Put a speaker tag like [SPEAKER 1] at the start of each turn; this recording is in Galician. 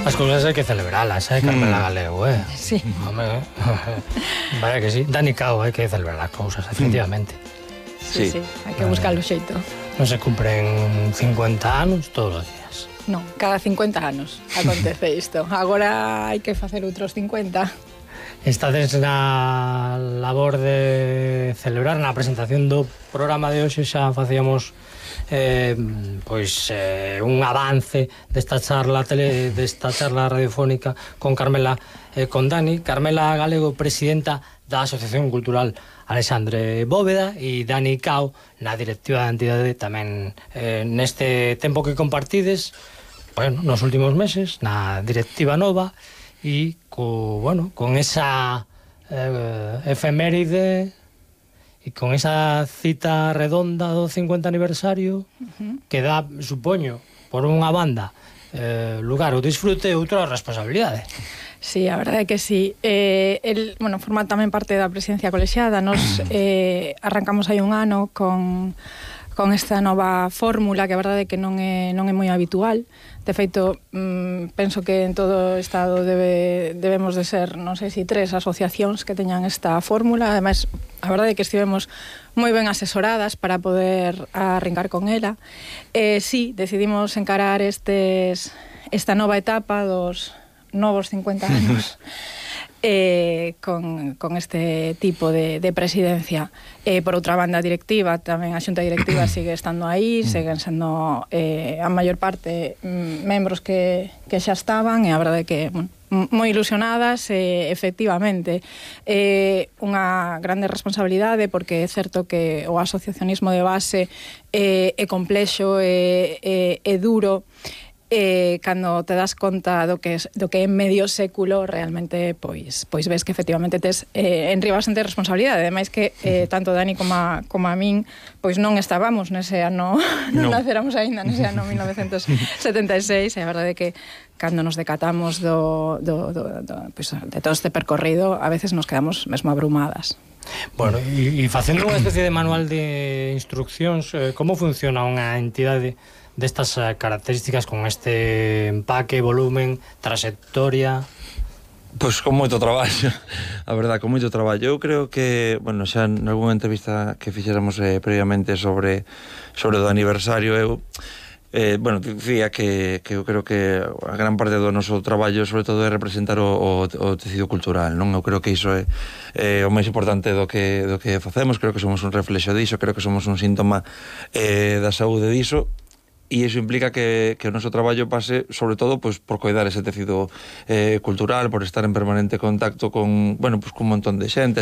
[SPEAKER 1] As cousas hai que celebralas, Carmela Galego,
[SPEAKER 2] Sí.
[SPEAKER 1] Home, vaya que sí. Dani Cao, hai que celebrar as cousas, efectivamente.
[SPEAKER 2] Sí, hai que buscar o xeito.
[SPEAKER 1] Non se cumpren 50 anos todos os días.
[SPEAKER 2] Non, cada 50 anos acontece isto. Agora hai que facer outros 50.
[SPEAKER 1] Estades na labor de celebrar na presentación do programa de hoxe, xa facíamos un avance desta charla radiofónica con Carmela e con Dani. Carmela Galego, presidenta da Asociación Cultural Alexandre Bóveda, e Dani Cao na directiva da entidade tamén neste tempo que compartides, nos últimos meses, na directiva nova, e con esa efeméride e con esa cita redonda do 50 aniversario que dá, supoño, por unha banda lugar ao disfrute e outra responsabilidade.
[SPEAKER 2] Sí, a verdade é que sí. Forma tamén parte da presidencia colexiada. Nos arrancamos hai un ano con esta nova fórmula, que a verdade é que non é moi habitual. De feito, penso que en todo o Estado debemos de ser, non sei se 3 asociacións que teñan esta fórmula. Ademais, a verdade é que estivemos moi ben asesoradas para poder arrincar con ela. Sí, decidimos encarar esta nova etapa dos novos 50 anos con este tipo de presidencia. Por outra banda, directiva, tamén a xunta directiva sigue estando aí, seguen sendo a maior parte membros que xa estaban, e a verdade é que moi ilusionadas, efectivamente. Unha grande responsabilidade, porque é certo que o asociacionismo de base é complexo, é duro. Cando te das conta do que é medio século, realmente pois ves que efectivamente tes enriba bastante responsabilidade. Ademais que tanto Dani como a min pois non estábamos nese ano, non naceramos aínda nese ano 1976, e a verdade é que cando nos decatamos de todo este percorrido, a veces nos quedamos mesmo abrumadas.
[SPEAKER 1] Bueno, e facendo unha especie de manual de instruccións, como funciona unha entidade destas características, con este empaque, volumen, trayectoria?
[SPEAKER 3] Pois con moito traballo, a verdad, con moito traballo. Eu creo que, xa nalgúna entrevista que fixéramos previamente sobre o aniversario, eu dicía que eu creo que a gran parte do noso traballo sobre todo é representar o tecido cultural, non? Eu creo que iso é o máis importante do que facemos. Creo que somos un reflexo diso, creo que somos un síntoma da saúde diso. E iso implica que o noso traballo pase, sobre todo, por coidar ese tecido cultural, por estar en permanente contacto con un montón de xente,